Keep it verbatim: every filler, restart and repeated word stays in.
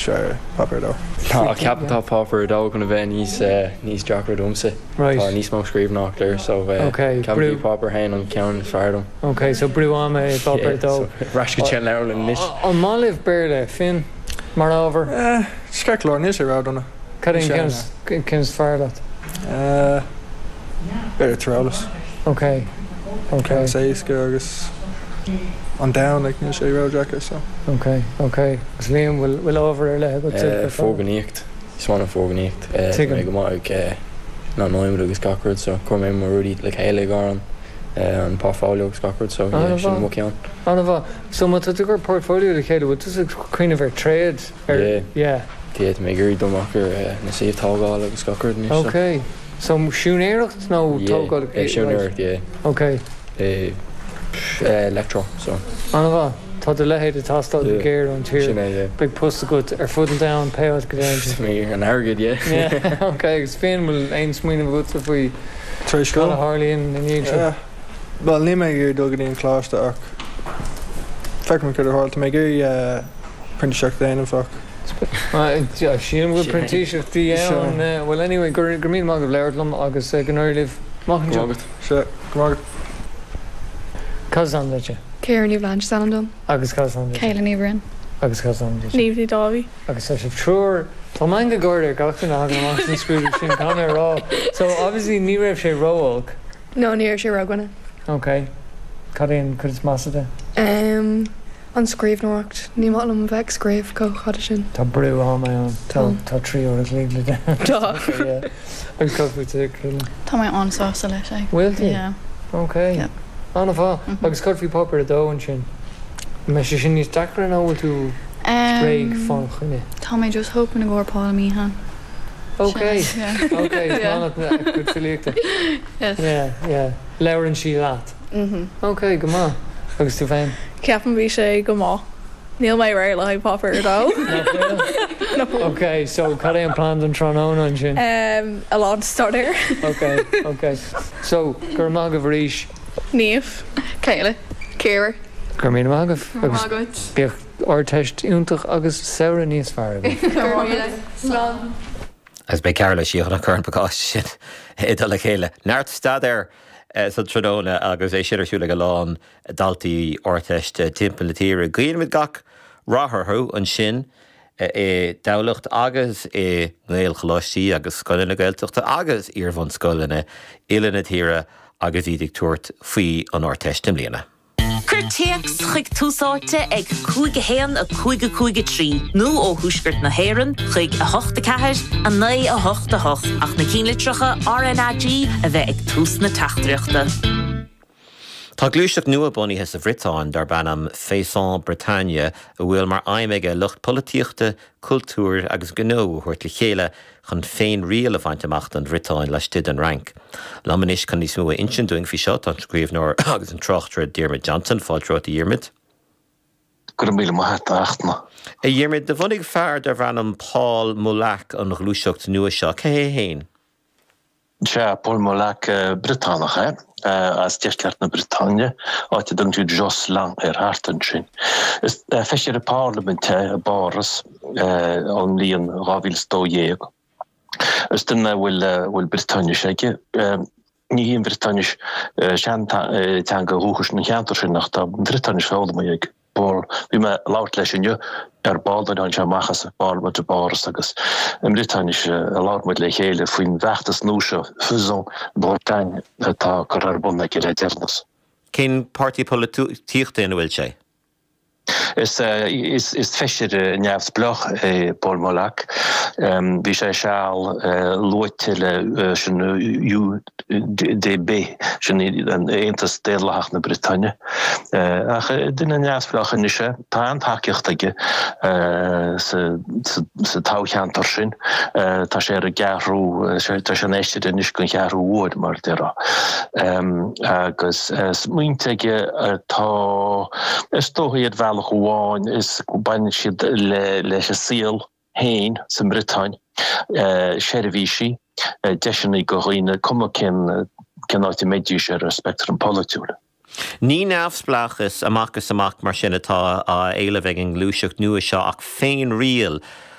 Sé páipéar a dó. Tá ceapaim tá páipéar a dó chun a bheith níos níos deacra domsa. Right. Tá níos mó scríbhneoireacht air so Okay, ceapaim brú- páipéar a haon an ceann is fearr dom. Ok, so brú ama é páipéar a dó. Ar ais go dtí an leabharlann anois. An maith libh Béarla, Finn, mar ábhar? Eh, ceart go leor, níl sé ródhona. Cad é an ceann ceann is fearr leat? Eh, B'fhéidir tíreolas. Ok. Ok. Ceann is éasca agus an domhan like, níl sé ródheacair so. Ok, ok. Agus Liam, bhfuil bhfuil ábhar ar leith agat Eh, Foirgníocht Is maith liom foirgníocht Tuigim. mé go maith ag na nóiméad agus gach rud so chuir mé mo rudaí le chéile ag an an portfolio agus gach rud so yeah, sin mo cheann. An-mhaith. So má tá tú ag cur portfolio le chéile, bhfuil tú ag cuimhneamh ar trade ar Yeah. yeah. Yeah, tá mé ag iarraidh dul amach ar eh, na suíomh tógála agus gach rud anois. so. Ok. So siúinéireacht nó Yeah, tógáil? eh, siúinéireacht, yeah. Ok. Eh, eh, electro so. An-mhaith. Tá do leithéid ag teastáil go Yeah. géar ón tír. Sin é, yeah. Beidh post agat ar fud an domhain pé áit go dtéann tú. Mé an airgead, yeah. Yeah, ok, agus Finn bhfuil aon smaoineamh agatsa faoi Tar éis cad a scoil? tharlaíonn ina dhiaidh seo? Yeah. Well, níl mé ag iarraidh dul go dtí an coláiste ach feicfidh mé cad a tharla. Tá mé ag iarraidh eh, printíseacht a dhéanamh ach Sílim go printíseachtaí ann. eh, Well anyway, gur gur míle maith agaibh labhairt liom agus eh, go n-éirí libh amach Go anseo. maith agat. sé go maith agat. Cad is ainm duit? Ciara Ní Bhlain is ainm dom. Agus cad is ainm duit? Céile Ní Bhriain. Agus cad is ainm duit? Niamh Ní Dáibhí. Agus tá sibh triúr Tá meangadh gáire ar gach duine a thagann amach san scrúdú sin tá mé rá. So obviously ní raibh sé ró-olc. No ní raibh sé ródhona. Ok. Cad é an chuid is measa de? Um, an scríbhneoireacht ní maith liom bheith ag scríobh chomh fada sin. Tá brú ama ann Tá tá trí uair a chloig le Tá. Yeah. Agus cad fút Céile? Tá mé an-sásta leis é. Bhfuil tú? Yeah. Ok. Yeah. An-mhaith. Mhm. Agus cad faoi páipéar a dó ansin. Me sé sin níos deacra nó bhfuil tú réidh Um, fá choinne. Tá mé just hoping go Paul Meehan. Ok. Yeah. Ok, Yeah. cuid filíochta. Yes. Yeah, yeah. Labhrann sí leat. Mhm. Ok, go maith. Agus tú féin? Ceapaim bhí sé go maith. Níl mé réidh le páipéar a dó. No. Ok, so cad é an plan don tráthnóna ansin? Um, a lán staidéir. Ok, ok. So gur maith agaibh arís Niamh. Céile. Ciara. gur míle maith agaibh agus Agat. bíodh Ardteist iontach agus samhradh níos fearr agaibh. Slán. Agus beidh Cearla síochan a chur an pacáiste sin i dul le chéile. Neart staidéir sa tráthnóna agus é sin ar siúl ag a lán daltaí Ardteist timpeall na tíre. Guímid gach rath orthu ansin i dTamhlacht agus i nGaelcholáistí agus scoileanna Gaeltachta agus iarbhunscoileanna uile na tíre agus iad ag tabhairt faoi an Ardteist i mbliana. Cuir téacs chuig Tús Áite ag cúig a haon a cúig a cúig a trí nó ó thuaisceart na hÉireann chuig a hocht a ceathair a naoi a hocht a hocht ach na ceannlitreacha RnaG a bheith ag tús na teachtaireachta. Tá gluaiseacht nua bunaithe sa Bhriotáin darb ainm Faisons Bretagne a bhfuil mar aidhm aige lucht polaitíochta, cultúir agus gnó a thabhairt le chéile chun féinriail a bhaint amach don Bhriotáin laistigh den Fhrainc. Liom anois chun níos mó a insint dúinn faoi seo an scríbhneoir agus an tráchtaire Diarmuid Johnson fáilte romhat a Dhiarmuid. Go míle maith achtna. A Dhiarmuid do bhunaigh fear darb ainm Paul Molac an ghluaiseacht nua seo cé hé féin. Se Paul Molac Briotánach é as deisceart na Briotáine áit a dtugtar Josselin ar thart ansin. Is feisire parlaiminte i bPáras ón mbliain dhá mhíle dó dhéag. Is duine bhfuil bhfuil Briotáinis aige. Ní hí an Bhriotáinis seanteanga dhúchais na cheantar sin ach tá Briotáinis foghlamtha ag Paul bhí mé ag labhairt leis inniu ar ball an se amachas ballmuid a báras agus i mBriotáinis a labhair muid le chéile faoin bhfeachtas nua seo Faisons Bretagne atá curtha ar bun aige le deireanas. Cén páirtí polaitíochta ina bhfuil sé? Is, is, is feisire neamhspleách é Paul Molac. Bhí sé seal luaite le sin UDB sin an Aontas Daonlathach na Briotáine. Ach duine neamhspleách anois é tá an-tacaíocht aige sa toghcheantar sin tá sé ar an gceathrú tá sé anois anois an ceathrú huair mar a déarfá. Agus smaointe aige atá is dócha iad bhealach amháin is baineann siad le leis an saol féin sa mBriotáin seirbhísí deiseanna do dhaoine cuma cén cén áit a mbeidís ar an speictream polaitiúil. Ní neamhspleáchas amach is amach mar sin atá á éileamh ag an ngluaiseacht nua seo ach féinriail.